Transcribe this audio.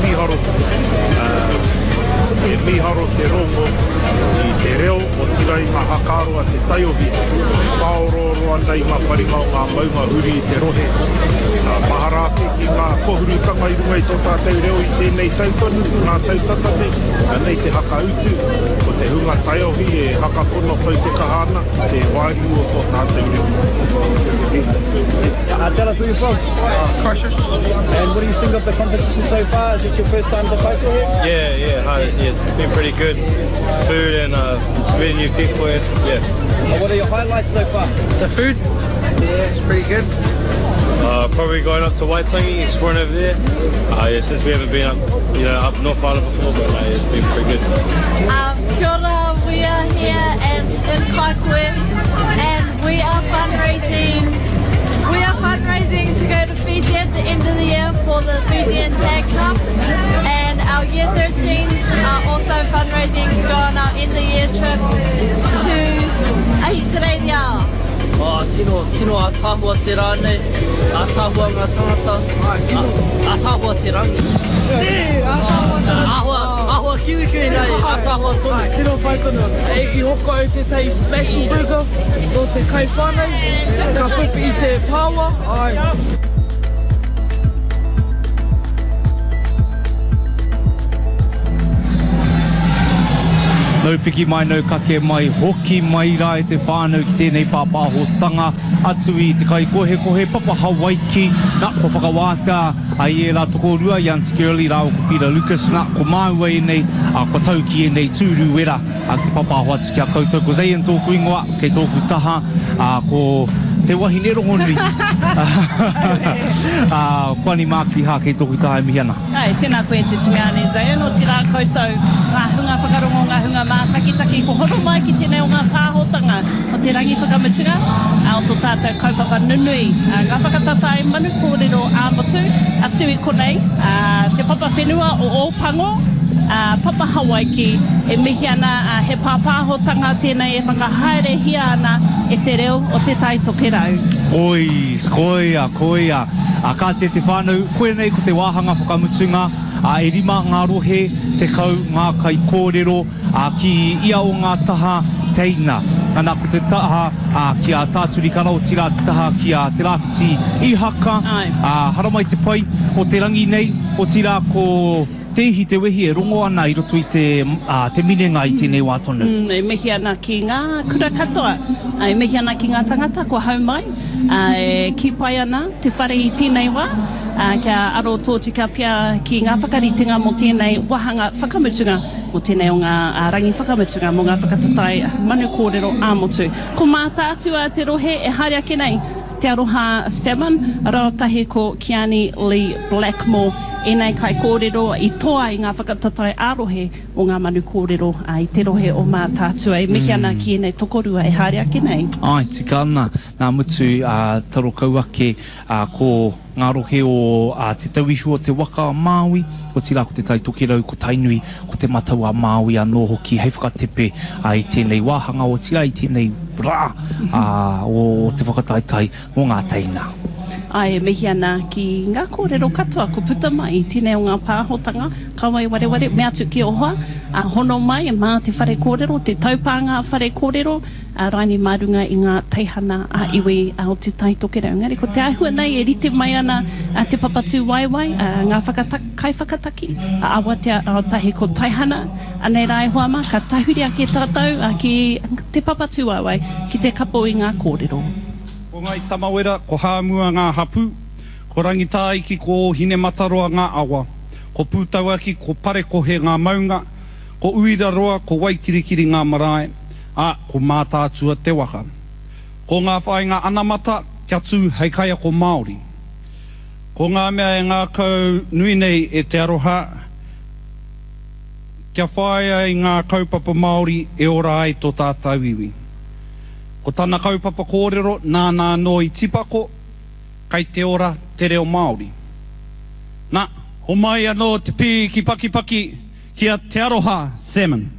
mīharo, he mīharo te rongo i te reo, otirā i ngā hakaaro a te taiohi e pāorooro ana i ngā paringa o ngā maunga huri i te rohe. Mahara ake ki ngā kohurutanga i runga i tō tātou reo i tēnei tau tonu, ngā tau tata nei, anei te hakautu, ko te hunga taiohi e hakapono kau te kaha ana ki te wāriu o tō tātou reo. Uh, tell us where you're from. Uh, Christchurch. And what do you think of the competition so far? Is this your first time to Kaikohe? Yeah, yeah, hi, yeah, it's been pretty good. Food and uh, meeting new people. Yeah. Uh, what are your highlights so far? The food. Yeah, it's pretty good. Uh, probably going up to Waitangi, exploring over there. Uh, yeah, since we haven't been up, you know, up North Island before, but uh, it's been pretty good. Um, kia ora, we are here and in Kaikohe and we are fundraising. We are fundraising to go to Fiji at the end of the year for the Fijian Tag Cup and our year 13s are also fundraising to go on our end of year trip to Ahitereiria. Oh, tino, tino ātaahua te rā nei, ātaahua ngā tangata, ātaahua te rangi. Āhua, āhua kiwikiwi nei, ātaahua tonu. Tino pai tonu. E, i hoko au tētahi smashy burger nō te kai whānau, ka whiwhi i te pāua, ai. Nau piki mai, nau kake mai, hoki mai rā e te whānau ki tēnei pāpāhotanga atu i te kaikohekohe papa Hawaiki. Nā, kua whakawātea i ērā tokorua, i Aunty Girlie rāua ko Peter Lucas. Nā, ko māua ēnei, ā, kua tau ki ēnei tūru wera ki te papāho atu ki a koutou. Ko Zayn tōku ingoa, kei tōku taha, ā, ko te wahine rongonui, ā, ko Ani Mākiha kei tōku taha e mihi ana. Āe, tēnā koe te tumeane Zayn, otirā koutou ngā hunga whakarongo, ngā hunga mātakitaki, kua hono mai ki tēnei o ngā pāhotanga o te rangi whakamutunga o tō tātou kaupapa nunui, ngā whakatatae manu kōrero ā-motu, atu i konei, te papa whenua o Ōpango, Papa Hawaiki, e mihi ana he pāpāhotanga tēnei e whakahaerehia ana e te reo o Te Tai Tokerau. Oi, koia, koia. Ā, kāti e te whānau, koinei ko te wāhanga whakamutunga, ā, e rima ngā rohe, 10 ngā kaikōrero, ā, ki ia o ngā taha teina. Ana, ko te taha, ā, ki a Tā Turi Kara, otirā te taha ki a Te Rāwhiti Ihaka, ā, haramai te pai o te rangi nei, otirā ko Te ihi, te wehi e rongo ana i roto i te, ā, te minenga i tēnei wā tonu. E mihi ana ki ngā kura katoa, e mihi ana ki ngā tangata kua hau mai, e kī pai ana te whare i tēnei wā, kia aro tōtika pea ki ngā whakaritenga mō tēnei wāhanga whakamutunga, mō tēnei o ngā rangi whakamutunga mō ngā whakatatae manu kōrero ā-motu. Ko Mātaatua te rohe e haere ake nei. Te Aroha Salmon, rautahi ko Keani Lee Blackmore ēnei kaikōrero i toa i ngā whakatatae ā-rohe o ngā manu kōrero i te rohe o Mātaatua. E mihi ana ki ēnei tokorua e haere ake nei. Āe, tika ana, nā mutu, ā, taro kau ake, ā, ko. Ngā rohe o Te Tauihu o te Waka a Māui, otirā ko Te Tai Tokerau, ko Tainui, ko Te Matau a Māui anō hoki hei whakatepe i tēnei wāhanga, otirā i tēnei rā o te whakataetae mō ngā teina. Āe, e mihi ana ki ngā kōrero katoa kua puta mai i tēnei o ngā pāhotanga, kaua e wareware, mea atu ki ō hoa, hono mai mā te whare kōrero, te taupānga whare kōrero, a Raini mā runga i ngā teihana ā-iwi o Te Tai Tokerau. Engari ko te āhua nei e rite mai ana te papa tūwaewae, ngā kaiwhakataki, a Awatea Rautahi ko Taihana, anei rā e hoa mā, ka tahuri ake tātou ki te papa tūwaewae ki te kapo i ngā kōrero. Ko Ngai Tamawera, ko Hāmua ngā hapū, ko Rangitāiki, ko Ōhinemataroa ngā awa, ko Pūtauaki, ko Parekohe ngā maunga, ko Uiraroa, ko Waikirikiri ngā marae, ā, ko Mātaatua te waka. Ko ngā whāinga anamata kia tū hei kaiako Māori. Ko ngā mea e ngākau nui nei e Te Aroha kia whāia i ngā kaupapa Māori e ora ai tō tātou iwi. Ko tana kaupapa kōrero nāna anō i tipako, kei te ora te reo Māori. Na, homai anō te pī ki pakipaki ki a Te Aroha Salmon.